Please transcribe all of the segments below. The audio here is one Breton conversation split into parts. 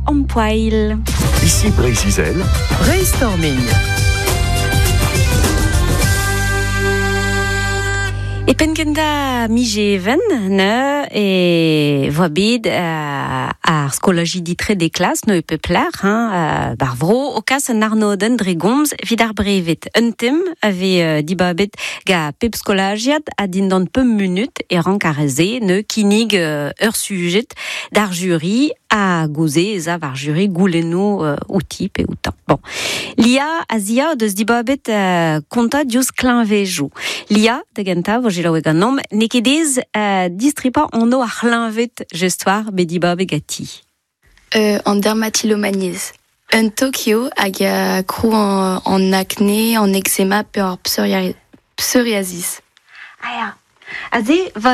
Ampoil. Ici Breizh-Izel. Brainstorming. E penn kentañ miz Even ne e voa bet ar skolajidi trede klas no e pep lec'h hein, bar vro o kas un arnodenn dre gomz evit ar breved. Un tem a vez dibabet gant pep skolajiad ha dindan pemp munut e rank ar re-se ne kinnig ur sujet d'ar juri ha gouze ez a war juri goulennoù outi pe outañ. Bon. Lia a zia o deus dibabet kontañ diouzh kleñvejoù. Lia, da gentañ, vo selaouet ganeomp, n'eo ket aes distripañ anv ar c'hleñved jestoar bet dibabet ganti. An dermatilomaniezh. Un tok eo hag a krou an akne, an eczema pe ar psoriasis. Ah ya. Aze, va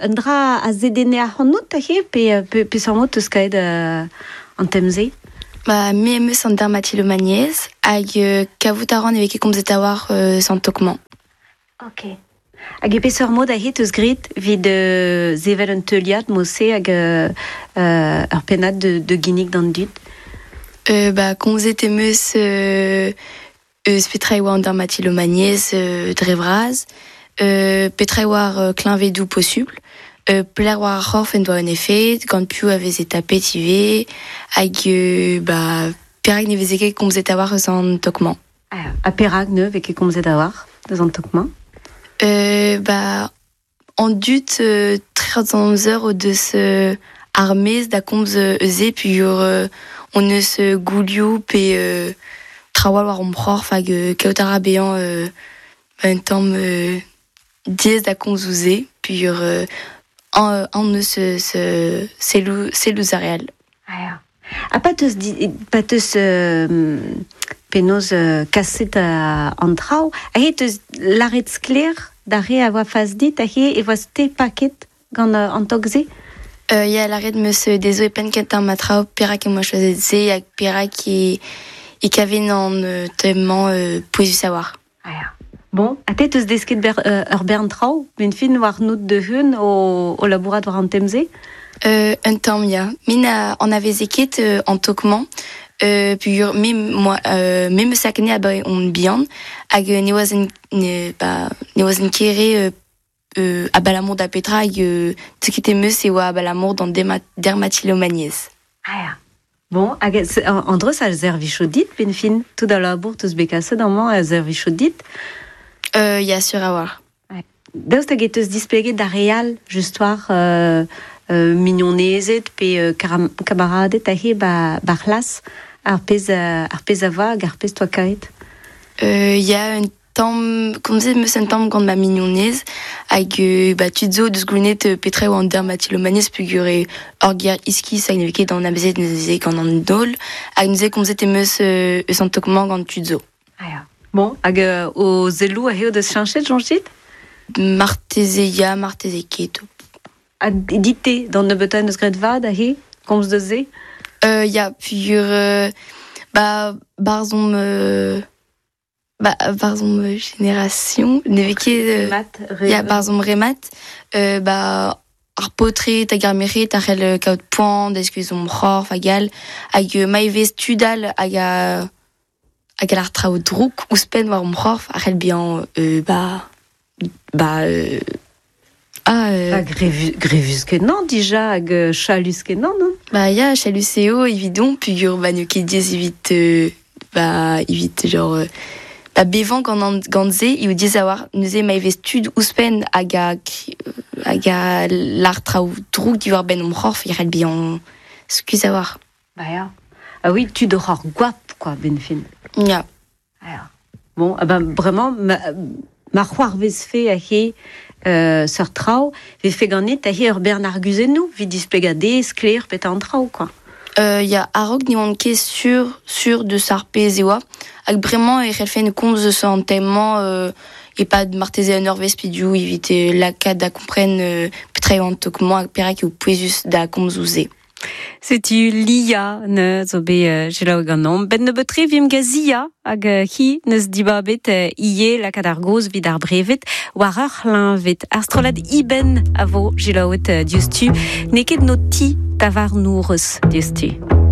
un dra a zedenne ac'hanout aze pe peseurt mod 'teus kaet an tem-se? Ba, me em eus an dermatilomaniezh hag kavout a ran e vez ket komzet a-walc'h eus an tok-mañ. Ok. Hag e peseurt mod aze 'teus graet evit sevel un teuliad mod-se hag ur pennad de ginnig d'an dud? Ba, komzet em eus eus petra e oa an dermatilomaniezh dre vras, petra e oa ar kleñvedoù posubl, pelec'h war ar c'horf en doa un efed, gant piv a veze tapet ivez, hag ba, perak ne veze ket komzet a-walc'h eus an tok-mañ. Ha perak ne vez ket komzet a-walc'h eus an tok-mañ? Ba, an dud trec'h an amzer o deus ar mezh da komz eus se peogwir hon eus goulioù pe traoù all war hon c'horf hag kaout a ra bezañ un tamm diaes da komz ouzh se peogwir aon eus selloù ouzh ar re all. Ah ya. Ha pa 'teus pa 'teus penaos kaset an traoù, aze 'teus lâret sklaer d'ar re a oa fas dit aze e oas-te paket gant an tog-se? Ya, lâret 'm eus dezho e penn-kentañ ma traoù perak em boa choazet se hag perak e kaven an tem-mañ pouezus a-walc'h. Ah ya. Bon, ha te 'teus desket ur bern traoù 'benn fin warnout da-heul o labourat war an tem-se? Un tamm, ya. Me na anaveze ket an tok-mañ peogwir me 'moa me 'm eus akne abaoe on bihan hag ne oazen ne ba ne oazen ket re abalamour da petra hag desket em eus e oa abalamour d'an dermatilomaniezh. Ah ya. Bon, hag an dreuz a servijo dit, 'benn fin? Tout al labour 'teus bet kaset amañ a servijo dit? Ya, sur a-walc'h. Daoust hag e teus displeget d'ar re all, just war mignonezed pe kamaraded aze ba c'hlas, ar pezh ar pezh a oa hag ar pezh 'toa kaet? Ya, un tamm komzet 'm eus un tamm gant ma mignonez hag ba tud zo deus goulennet petra eo an dermatilomaniezh peogwir eo ur ger iskis hag ne vez ket anavezet neuze gant an holl hag neuze komzet em eus eus an tok-mañ gant tud zo. Ah ya. Bon, hag o selloù eo deus cheñchet, soñjit? Marteze ya, marteze ket. Ha dit-te, d'an nebeutañ en deus graet vad aze, komz deus se? Ya, peogwir ba 'barzh omp Ba 'barzh hon génération ne vez ket ya 'barzh hon remat ba ar paotred hag ar merc'hed a c'hell kaout poan da skuizh hon c'horf hag all hag ma e vez tud all hag a hag a lar traoù drouk ouzhpenn war hon c'horf a c'hell bezañ ba ba ah Ha grevus-kenañ dija hag chalus-kenañ non? Ba ya chalus eo evidon peogwir ba n'eo ket diaes evit ba evit genre ba bevañ gant an gant se eo diaes a-walc'h neuze ma e vez tud ouzhpenn hag a hag a lar traoù drouk diwar-benn hon c'horf e c'hell bezañ skuizh a-walc'h. Ba ya. Ah oui, tud oc'h ar goap quoi, 'benn fin. Ya. Bon, ah ben bremañ ma, ma c'hoarvezfe aze seurt traoù, vefe ganit aze ur bern arguzennoù evit displegañ dezhe sklaer petra an traoù quoi. Ya, a-raok ne oan ket sur sur deus ar pezh e oa hag bremañ e c'hellfen komz eus an tem-mañ e-pad marteze un eurvezh pe div evit lakaat da kompren petra eo an tok-mañ hag perak eo pouezus da komz ouzh se. Setu Lia neuze zo bet selaou ganeomp. Benn nebeut-tre 'vimp gant Zia hag hi 'neus dibabet ivez lakaat ar gaoz evit ar breved war ur c'hleñved. Ar strollad Iben a vo selaouet diouzhtu. N'eo ket 'no ti tavarnourez diouzhtu.